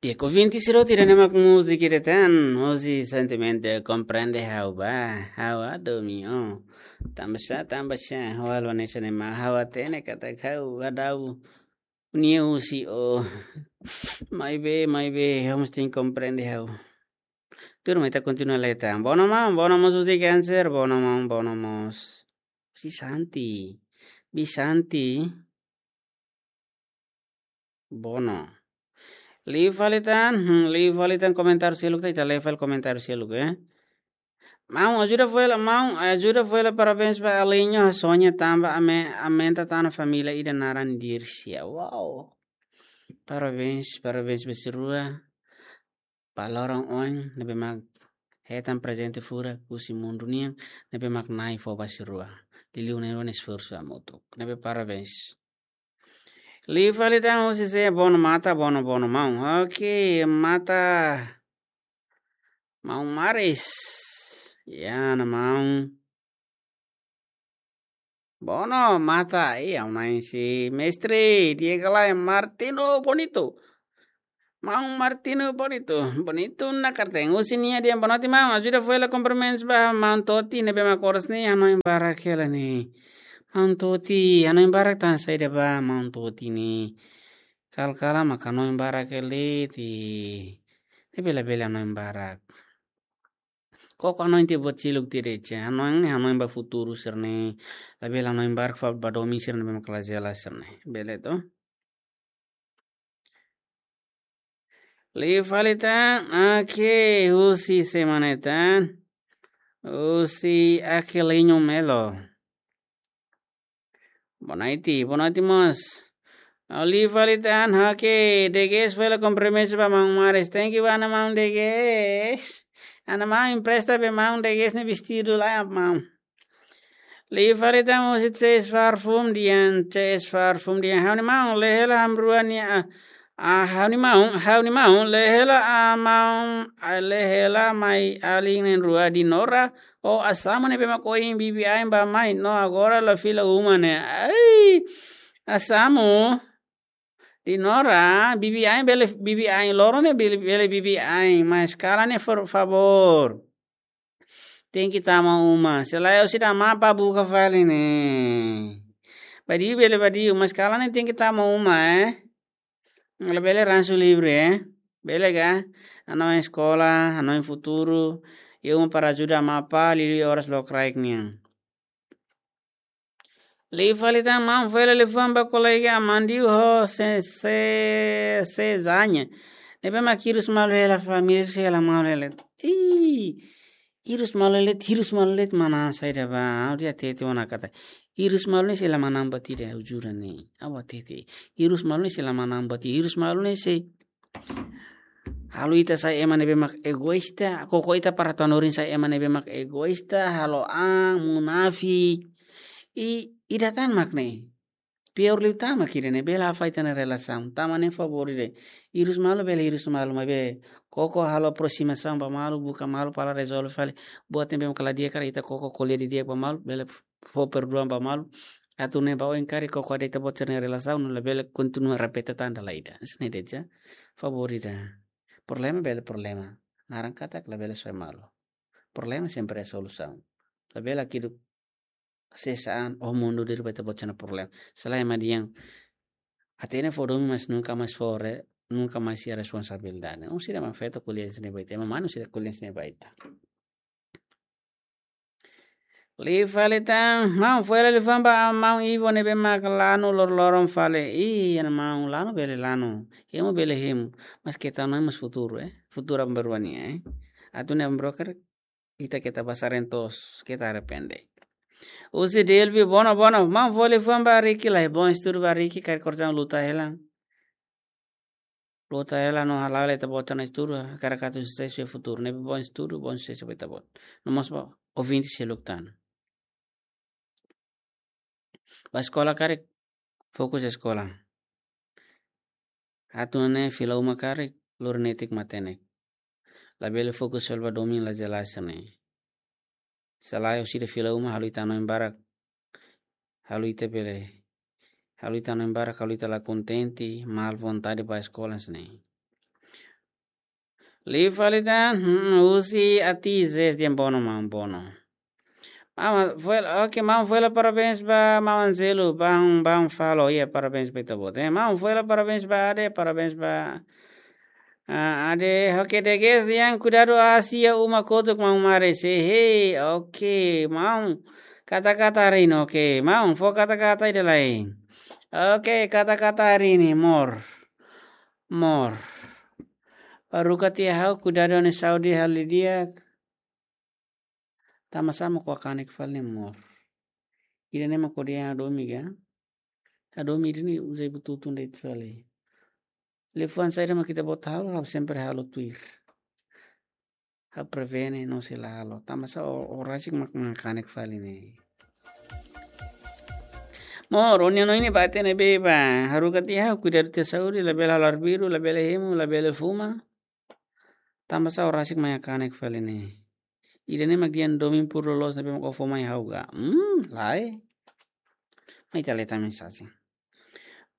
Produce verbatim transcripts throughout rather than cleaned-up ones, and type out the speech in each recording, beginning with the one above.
E ko vinte siro tira ne'e mak múzika ida tan, hosi sentimentu komprende ha'u ba, ha'u ado mi o. Tanba sá, tanba sá, ha'u halo hanesan ne'e mak ha'u hatene katak ha'u hadau nia husi o. Maibé, maibé, ha'u mós tenke komprende ha'u. Tuirmai ita kontinua leta. Bono maun, bono mós husi Cancer, bono maun, bono mós. Husi Santi. Bi Santi. Bono. Liu fali tan, hmm, liu fali tan komentáriu seluk ta, ita lee fali komentáriu seluk, eh. Maun, ajuda fo'er lai, maun, ajuda fo'er lai, parabéns ba Alinho, Sonia tanba ame-, aumenta tan família ida naran Dircia. Wow. Parabéns, parabéns ba sira rua. Ba loron oin, ne'ebé mak hetan prezente furak husi mundu nian, ne'ebé mak Na'i fó ba sira rua. Liuliu ne'e rua nia esforsu hamutuk. Ne'ebé parabéns. Liu fali tan husi sé, bono mata, bono, bono maun. Oke, mata. Maun Maris. Ya, na maun. Bono, mata, i, au na'in si mestre, di'ak ka lae, Martino Bonito. Maun Martino Bonito, Bonito na karteng, husi nia dehan boa noite maun, ajuda fo'er lai kumprimentus ba maun Toti, ne'ebé mak oras ne'e hanoin barak hela ne'e. Maun Toti, hanoin barak tan saida ba maun Toti ne'e. Kala-kala mak hanoin barak hela de'it. Ne'ebé labele hanoin barak. Koko hanoin tiha buat seluk tiha de'it, hanoin ne'e hanoin ba futuru sira-ne'e. Labele hanoin barak fali ba domin sira-ne'ebé mak la jelas sira-ne'e. Bele to? Liu fali tan, oke, husi semana tan. Husi Aquilino Melo. Boa noite, boa noite mós. Liu fali tan, oke, Deges fo'er lai kumprimentus ba maun Maris. Thank you, ana maun Deges. Ana maun empresta be maun Deges nia vestidu lai, maun. Liu fali tan husi Ces Parfum dehan, Ces Parfum dehan. Ha'u-nia maun, lee hela ami rua nia, ah, ah, ha'u-nia maun, ha'u-nia maun, lee hela, ah, maun, ah, lee hela mai alin na'in-rua Dinora. O Asamu ne'ebé mak ohin bibi ain ba mai, no agora la fila uma ne'e. Ai, Asamu. Dinora, bibi ain bele, bibi ain loron ne'e bele, bele bibi ain, mas kalan ne'e, por favór. Tenke tama uma. Se lae ha'u seidauk mapa buka fali ne'e. Badiu bele badiu, mas kalan ne'e tenke tama uma, eh. Labele ransu livre, eh. Bele ka? Hanoin eskola, hanoin futuru. Iha uma para ajuda mapa, liuliu oras lokraik nian. Liu fali tan maun, fo'er lai liafuan ba kolega Amandio ho se, se, se zanya. Ne'ebé mak hirus malu hela família, sei hela malu hela. Ih, hirus malu hela, hirus malu hela manán saida ba. Ha'u hatete ona katak hirus malu ne'e sei la manán buat ida, ha'u jura ne'e. Ha'u hatete. Hirus malu ne'e sei la manán buat ida. Hirus malu ne'e sei halo ita sai ema ne'ebé mak egoísta, koko ita para tanorin sai ema ne'ebé mak egoísta, halo an, munafik. I, ida tan mak ne'e. Pior liután mak ida ne'e, bele hafaita ita-nia relasaun. Tanba ne'e favór ida. Hirus malu bele hirus malu, maibé koko halo aproximasaun ba malu, buka malu para rezolve fali. Buat ne'ebé mak la di'ak karik ita koko ko'alia didi'ak ba malu, bele fó perduasaun ba malu. Atu nune'e ba oin karik koko de'it ita-boot sira-nia relasaun, labele kontinua repete tan dala ida. Hanesan ne'e de'it. Favór ida. Problema bele problema. Naran katak labele soe malu. Problema sempre iha solusaun. Labele hakiduk sesaan, o mundu diri ba ita-boot sira-nia problema. Se lae ema dehan hatene fó domin mas nunka mais fó re-, nunka mais iha responsabilidade. Um sira mak feto ko'alia hanesan ne'e ba ita. Ema manu sira ko'alia hanesan ne'e ba ita. Liu fali tan, maun, fo'er lai liafuan ba maun Ivo ne'ebé mak lanu loroloron fali. Ih, ana maun, lanu bele lanu. Hemu bele hemu. Mas keta no mas futuru, eh. Futuru aban-bainrua nian, eh. Atu nune'e aban-bainrua karik ita keta ba sareen toos, keta arrepende. Husi Delvi, bono, bono. Maun, fo'er lai liafuan ba Ricky lai. Bom estudu ba Ricky, karik korjaun luta hela. Luta hela no hala'o hela ita-boot sira-nia estudu, hakarak atu susesu iha futuru. Ne'ebé bom estudu, bom susesu ba ita-boot. No mós ba ouvinte seluk tan. Ba eskola karik, fokus eskola. Atu nune'e fila uma karik, lori netik matenek. Labele fokus fali ba domin la jelas ne'e. Se lae orsida fila uma halo ita hanoin barak. Halo ita bele. Halo ita hanoin barak, halo ita la kontente, mal vontade ba eskola hanesan ne'e. Liu fali tan, hmm, husi Ati Zes dehan bono maun, bono. Maun, foil, oke, maun, foil parabéns ba maun Angelo, bang, bang falo, iha, parabéns ba ita-boot, eh. Maun, foil parabéns ba Ade, parabéns ba, ah, Ade, oke, Deges dehan kuidadu aas iha uma kotuk maun Mare, sei, hei, oke, maun, kata-kata harii ne'e, oke, maun, fó kata-kata ida lai. Oke, kata-kata harii ne'e, mor, mor. Haruka tiha ha'u, kuidadu ha'u-nia saúde halo di'ak. Tanba sá mak ó hakanek fali ne'e mor? Ida-ne'e mak ó dehan hadomi ka? Hadomi ida-ne'e uza bututu de'it fali. Liafuan saida mak ita-boot halo, ha'u sempre halo tuir. Ha'u prevene no sei la halo. Tanba sá ó, ó rasik mak hakanek fali ne'e. Mor, ó-nia oin ne'e ba ita ne'ebé ba. Haruka tiha ha'u, kuidadu tiha saúde, labele halo arbiru, labele hemu, labele fuma. Tanba sá ó rasik mai hakanek fali ne'e? Ida-ne'e mak dehan domin puru loloos ne'ebé mak ó fó mai ha'u ka? Hmm, lae. Mai ita lee tan mensajen.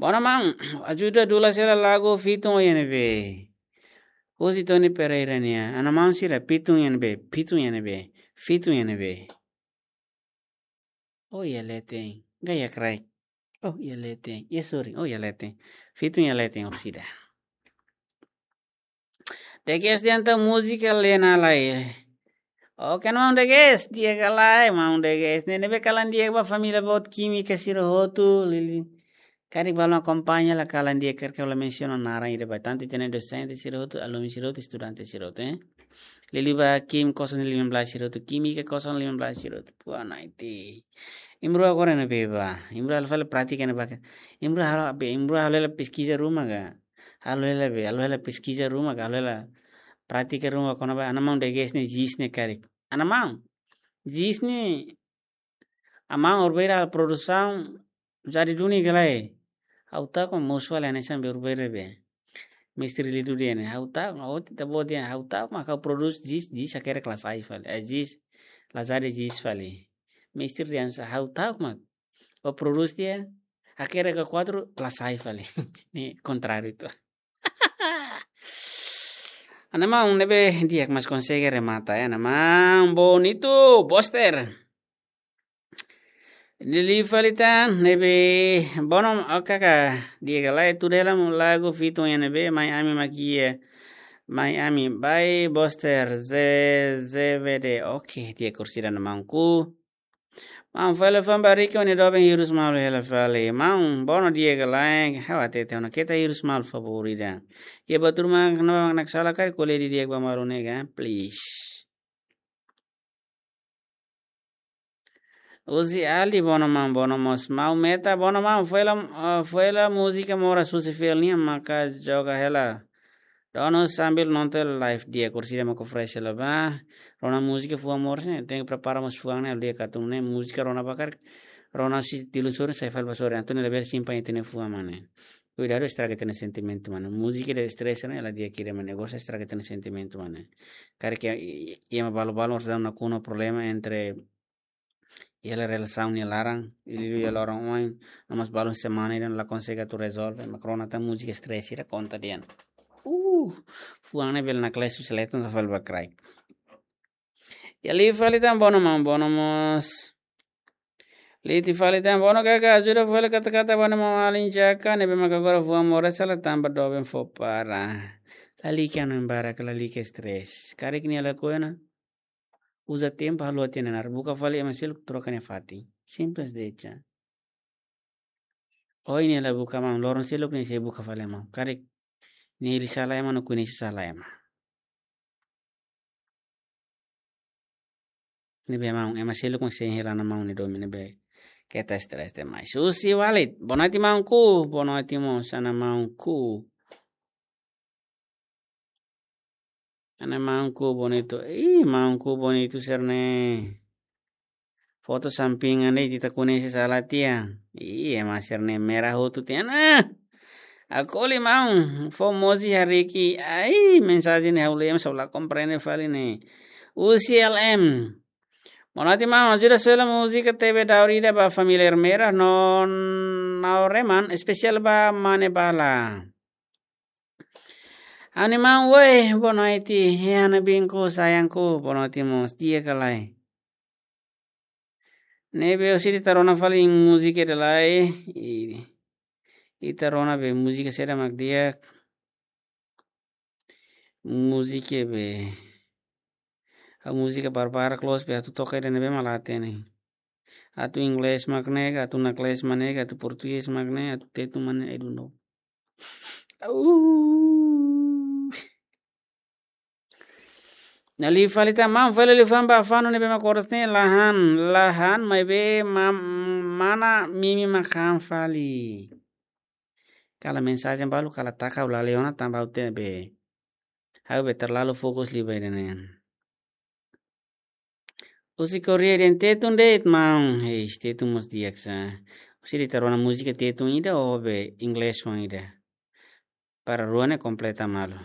Bono maun, ajuda dula sela lagu Fitun iha ne'ebé. Husi Tony Pereira nian. Ana maun sira, Fitun iha ne'ebé, Fitun iha ne'ebé, Fitun iha ne'ebé. Oh, iha leten. Gaya crack. Oh, iha leten. Iha, sorry. Oh, iha leten. Fitun iha leten, orsida. Deges dehan atu múzika Lena lai. Oke, maun Deges, di'ak ka lae, maun Deges. Ne'e, ne'ebé kalan di'ak ba família boot Kímika sira hotu, Lili. Karik balu akompaña la kalan di'ak, karik la mensiona naran ida ba, tantu ita-nia dosente sira hotu, alumni sira hotu, estudante sira hotu, eh. Lili ba Kim kosong lima belas sira hotu, Kímika kosong lima belas sira hotu. Puan ai ti. Imrua agora ne'ebé ba. Imrua halo fali prátika ne'ebá ka. Imrua halo be, imrua halo hela peskiza ruma ka. Halo hela be, halo hela peskiza ruma ka, halo hela prátika ruma kona-ba ana maun Deges nia jis ne'e karik. Ana maun. Jis ne'e, ana maun, ó-nia produsaun jadi duni ka lae? Ha'u ta'uk mak mosu fali hanesan be ó-nia be. Mestre Lidu dehan ne'e, ha'u ta'uk, ó ita-boot dehan, ha'u ta'uk mak ha'u produs jis, jis hakerek la sai fali. Eh, jis, la jadi jis fali. Mestre dehan sá, ha'u ta'uk mak ó produs tiha, hakerek ka kuadru, la sai fali. Ne'e kontráriu ita. Ana maun ne'ebé di'ak, mas konsege remata, eh, ana maun Bonito, Boster. Lili fali tan, ne'ebé bono, oke ka, di'ak ka lae, tuur hela maun lagu Fitun iha ne'ebé, mai ami mak iha, mai ami, by Boster, Z-, Z V D, oke, di'ak orsida ana maunku. Maun, fali famba riki, ó-nia doben hirus malu hela fali. Maun, bono di'ak ka lae, ha'u hatete ona, keta hirus malu favór ida. Iha buat ruma mak ne'ebé mak sala karik ko'alia didi'ak ba malu ne'e ka, please. Uzi Ali, bono maun, bono mós. Maun Meta, bono maun, foil, eh, foil múzika moras husi Fel nian maka joga hela. Donu sambil nonton live, di'ak orsida mak fresh hela ba. Rona múzika fuan moras ne'e, tenke prepara mós fuan ne'e, di'ak atu nune'e múzika rona ba karik. Rona husi tilu sorin sai fali ba sorin. Entaun ne'e labele simpan ita-nia fuan mak ne'e. Kuidadu estraga ita-nia sentimentu mak ne'e. Múzika ida estresa ne'e, la di'ak ida mak ne'e, gosta estraga ita-nia sentimentu mak ne'e. Karik iha, iha, iha ema balu-balu harus dam nakonu problema entre iha hela relasaun nia laran, i liuliu iha loron oin, no mós balun semana ida la konsege atu rezolve, mak rona tan múzika estresa ida konta dehan. Uh, fuan ne'e bele naklesu seleton sa fali ba kraik. Iha liu fali tan, bono maun, bono mós. Liti fali tan, bono kaka, ajuda fali kata-kata ba maun Alin Jaka, ne'ebé maka agora fuan moras sala tanba doben fó para. Lalika no embara ka lalika estresa. Karik nia lakohi ona, uza tempu haluha tiha nia naran, buka fali ema seluk troka nia fatin. Simples de'it. Ohin nia la buka maun, loron seluk nia sei buka fali maun. Karik nia hili sala ema no koñese sala ema. Ne'ebé maun, ema seluk mak sei hela ona maun nia domin, ne'ebé keta estresa demais. Husi Walid, boa noite maunku, boa noite mós ana maunku. Ana maunku Bonito. Ih, maunku Bonito sira-ne'e. Foto sampingan de'it, ita koñese sala tiha. Ih, ema sira-ne'e merah hotu tiha ona. Acolhe maun, fó mozi harii. Ai, mensajen ne'e ha'u lee, mas ha'u la komprende fali ne'e. U C L M. Boa noite, maun. Ajuda sola múzika T V Daur Ida ba família Ermera no Naureman, espesiál ba Mane Bala. Animaun, oi, boa noite. Hana binku, sayangku, boa noite, mós. Di'ak ka lae? Ne'ebé ha'u sei ita rona fali múzika ida lai, i, ita rona be múzika saida mak di'ak. Múzika be, ha'u múzika barbarak loos be atu toka ida ne'ebé mak la hatene. Atu inglés mak ne'e, atu nakles mak ne'e, atu portugés mak ne'e, atu tetun mak ne'e, I don't know. Au. Ne'e liu fali tan, maun, fali liu fali ba fanu ne'ebé mak oras ne'e la han, la han, maibé mam-, mana Mimi mak han fali. Kala mensajen balu, kala taka, ha'u la lee ona tanba ha'u te be, ha'u be terlalu fokus liu ba ida-ne'e. Husi Korea de'it, tetun de'it, maun. Hei, tetun mós di'ak sa. Husi ita rona múzika tetun ida ou be inglés oan ida. Para rua ne'e kompleta malu.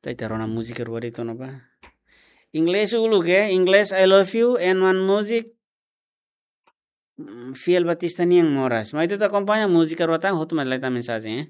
Ita rona múzika rua de'it ona ba. Inglés uluk, eh, inglés I love you, and one music, mm, Fiel Batista nian moras. Maibé ita akompaña múzika rua tan, hotu mai leta mensajen, eh.